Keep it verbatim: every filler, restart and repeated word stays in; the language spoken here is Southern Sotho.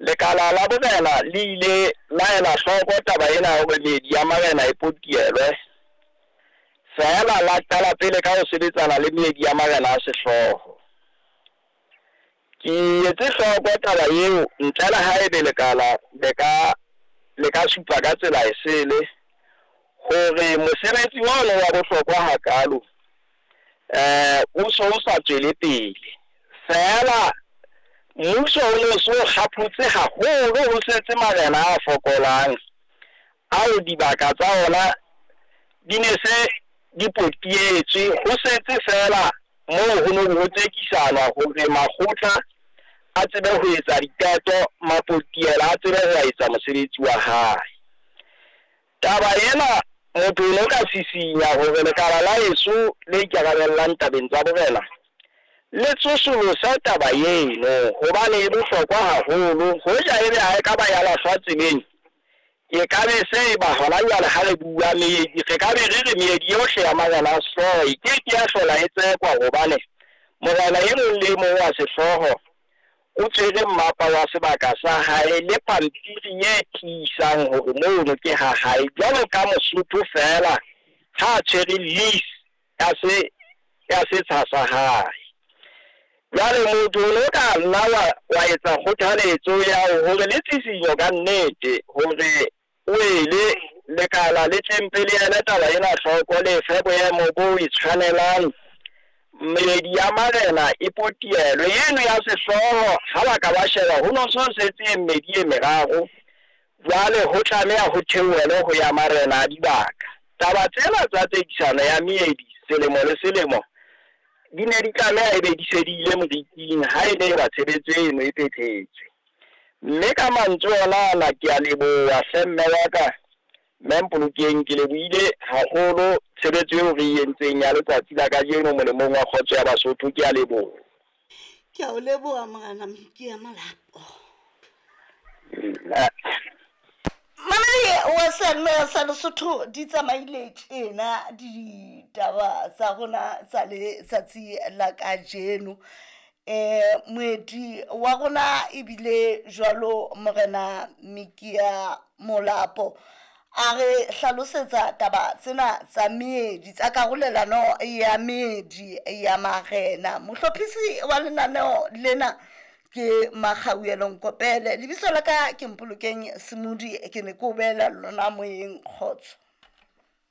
Lekala la borena le ile la ela hloko taba ena ya hore meedi ya marena e potielwe. Feela la qala pele ka ho sebetsana le meedi ya marena a sehlooho. Ke etse hloko taba eo ntle le haebe lekala le ka le ka supa ka tsela e sele hore mosebetsi ono wa bohlokwa hakalo eh o so o sa tswele pele. Feela mmuso o no so kgaphotse haholo ho setse marena a fokolang ao dibaka tsa ona di ne se di potietswe, ho setse feela moo ho neng ho tsekisanwa hore makgotla a tsebe ho etsa diqeto, mapotiela a tsebe ho etsa mosebetsi wa hae. Taba ena motho o no ka sisinya hore lekala la heso le ikarabellang tabeng tsa borena le tsosolose taba eno hobane e bohlokwa haholo. Hoja ebe ha e ka ba ya lahlwa tseleng, e ka be se e ba hona jwale ha re bua meedi, re ka be re re meedi yohle ya marena a sehlooho e ke ke ya hlola e tsekwa hobane morena e mong le e mong wa sehlooho o tshwere mmapa wa sebaka sa hae le pampiri e tiisang hore mono ke ha hae. Jwalo ka Mosotho feela ha a tshwere lease ya se ya setsha sa hae. Jwale motho o no ka nna wa wa etsa kgothaletso ya hore le tshisinyo ka nnete hore o ele lekala le tlempe le ele taba ena hloko, le fe boemo bo e tshwanelang. Meedi ya marena e potielwe. Eno ya sehlooho ha ba ka ba sheba ho no so setse e mmedi e meraro, jwale ho tlameha ho theohelwe ho ya marena a dibaka. Taba tsena tsa tsekisano ya meedi selemo le selemo di ne di tlameha ebe di se di ile moriting ha e ne ba tshebetso eno e phethetswe. Mme ka mantswe ona ana ke a leboha hle mme wa ka, mme Mpolokeng, ke lebohile haholo tshebetso eo re e entseng ya letsatsi la kajeno molemong wa kgotso ya Basotho. Ke a leboha. Ke a o leboha morena Mokia Molapo. Mamedi wa seyalemoya sa Lesotho, di tsamaile tjena ditaba tsa rona tsa letsatsi la kajeno. Eh moeti wa rona ebile jwalo morena Mokia Molapo a re hlalosetsa taba tsena tsa meedi, tsa karolelano ya meedi ya marena. Mohlophisi wa lenaneo lena ke Makgauelo Nkopele, lebitso la ka ke Mpolokeng Semodi, ke ne ke o beela lona moyeng. Kgotso.